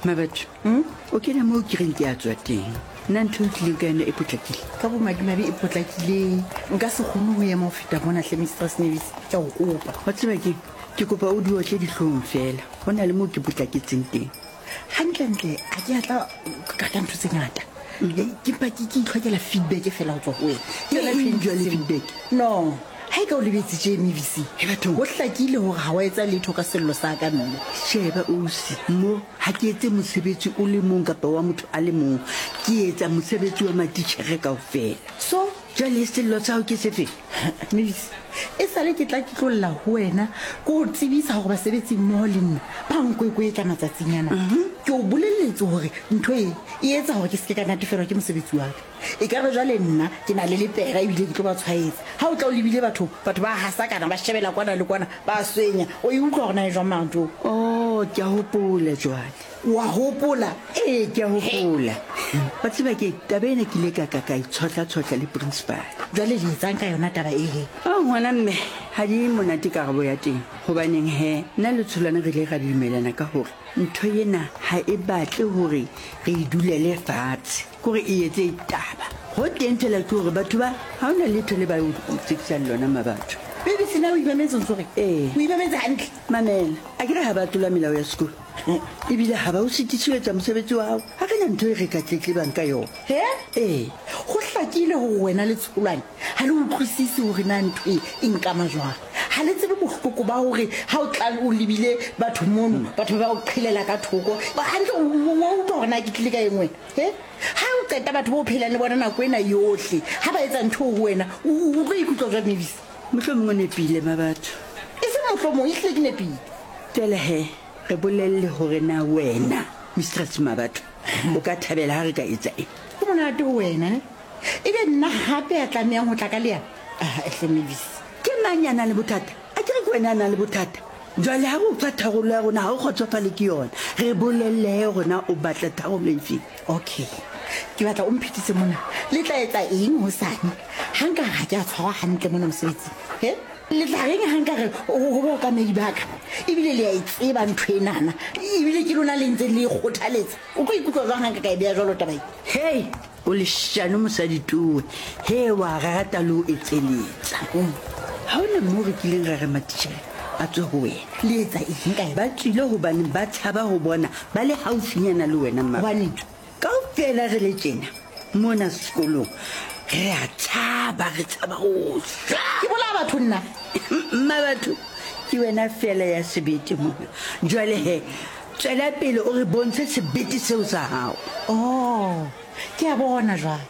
Mabatho, o kena moo ke reng ke a tswa teng. Nna ntho e o tlileng ka yona e potlakile? Ka bomadimabe e potlakile. Nka se kgone go ema go feta mona hle, Mistress Mavis, ke a go kopa. Wa tseba keng? Ke kopa o di otle dihlong feela. Go na le moo ke potlaketseng teng. Gantlentle ga ke a tla ka ka ntho tse ngata. Ke mpa ke ke itlhokela feedback fela go tswa go wena. Ke yona eng jwale feedback? No, ga e ka o lebetse tše, Mavis. He bathong. Go hlakile gore ga wa etsa letho ka sello sa ka mme. Sheba ausi, mo ga ke etse mosebetsi o le mong kapa wa motho a le mong. Ke etsa mosebetsi wa matitjhere kaofela. So? Jwale sello sa hao ke sefe? Mavis, e sale ke tla ke tlo lla ho wena ke o tsebisa gore basebetsi mmoho le nna ba nkwekwetla matsatsing ana. Ke o boleletse gore ntho e e etsa gore ke seke ka natefelwa ke mosebetsi wa ka. E ka re jwale nna ke na le lepera ebile ke tlo ba tshwaetsa. Ha o tla o lebile batho, batho ba hasakana, ba shebela kwana le kwana, ba swenya. O e utlwa gore na e jwang mara ntho eo? Oh, ke a hopola jwale. Wa hopola? Ee, ke a hopola. Wa tseba ke taba ena ke ile ka ka ka itshohla-tshohla le principal. Jwale le etsang ka yona taba e he? Oh, ngwana mme, ha di monate karabo ya teng. Hobaneng he, nna le Tsholwane re ile ra dumelana ka hore ntho ena ha e batle hore re e dulele fatshe, kore e etse taba. Ho teng fela ke hore batho ba ha hona letho le ba o tsekisang lona mabatho. Baby, sena o imametse o ntso re? Ee. O imametse hantle? Mamela, akere ha ba tlola melao ya sekolo? Ebile ga ba o sitise ho etsa mosebetsi wa gago. Ga re na ntho e re ka tletlebang ka yona. He? Ee. Go hlakile gore wena le Tsholwane ga le utlwisise gore na ntho e e nkama jwang. Ga le tsebe bohloko ba gore ga o tla o lebile batho mono, batho ba o qhelela ka thoko. Hantle o utlwa gore na ke tlile ka eng wena? He? Ga o qeta batho ba o phelang le bona nako ena yohle, ga ba etsa ntho ho wena, o tlo ikutlwa jwang, Mavis? Mohlomongwe o nepile, Mabatho. E seng mohlomong, ehlile ke nepile. Jwale he, re bolelle hore na wena, Mistress Mabatho, o ka thabela ha re ka etsa eng? Ho monate ho wena, ne? Ebe nna hape ya tlamehang ho tla ka leano? Aha, hle, Mavis. Ke mang ya nang le bothata? Akere ke wena ya nang le bothata. Jwale ha re o fa tharollo ya rona, ha o kgotsofale ke yona. Re bolelle he hore na o batla tharollo efe. Okay. Ke batla o mphetise mona. Le tla etsa eng hosane ha nka re ha ke a tshwarwa hantle mona mosebetsing? He? Le tla reng ha nka re ho baokamedi ba ka, ebile le a e tseba ntho enana, ebile ke lona le ntseng le e kgothaletsa? O tlo ikutlwa jwang ha nka ka e beha jwalo taba e? Hei, o leshano mosadi towe. He, wa rata le ho etseletsa. Ha ho na moo re kileng ra re matitjhere a tswe ho wena. Le etsa eng ka yona? Ba tswile hobane ba tshaba ho bona ba le haufinyana le wena, mma. Hobaneng? Kaofela re le tjena mona sekolong re a tshaba, re tshaba ho shwa. Ke bolaya batho nna. Mma batho, ke wena feela ya sebete mona. Jwale he, tswela pele o re bontshe sebete seo sa hao. Oh, ke a bona jwale.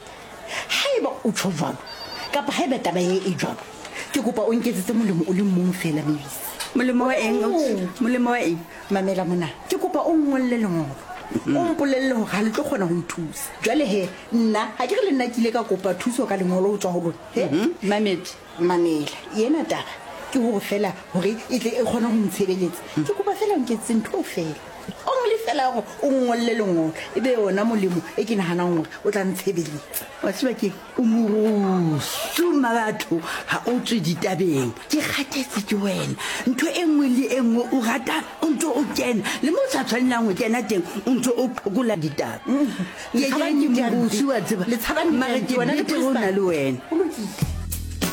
Haeba o tjho jwalo, kapa haeba taba e e jwalo, ke kopa o nketsetse molemo o le mong feela, Mavis. Molemo wa eng, ausi? Molemo wa eng? Mamela mona, ke kopa o nngolle lengolo, o mpolelle hore ha le tlo kgona ho nthusa. Jwale he, nna ha ke re le nna ke ile ka kopa thuso ka lengolo ho tswa ho lona, he? Mametse. Mamela, ena taba ke hore feela hore e tle e kgone ho ntshebeletsa, ke kopa feela o nketsetse ntho eo feela. Only feela hore o nngolle lengolo, e be yona molemo e ke nahanang hore o tla ntshebeletsa. Wa tseba ke o morusu mmabatho, ha o tswe ditabeng. Ke kgathetse ke wena. Ntho e nngwe le e nngwe o rata o ntse o kena, le mo o sa tshwanelang ho kena teng o ntse o phokola ditaba. Ke ke morusu wa tseba, mare ke betere ho na le wena. Ho lokile.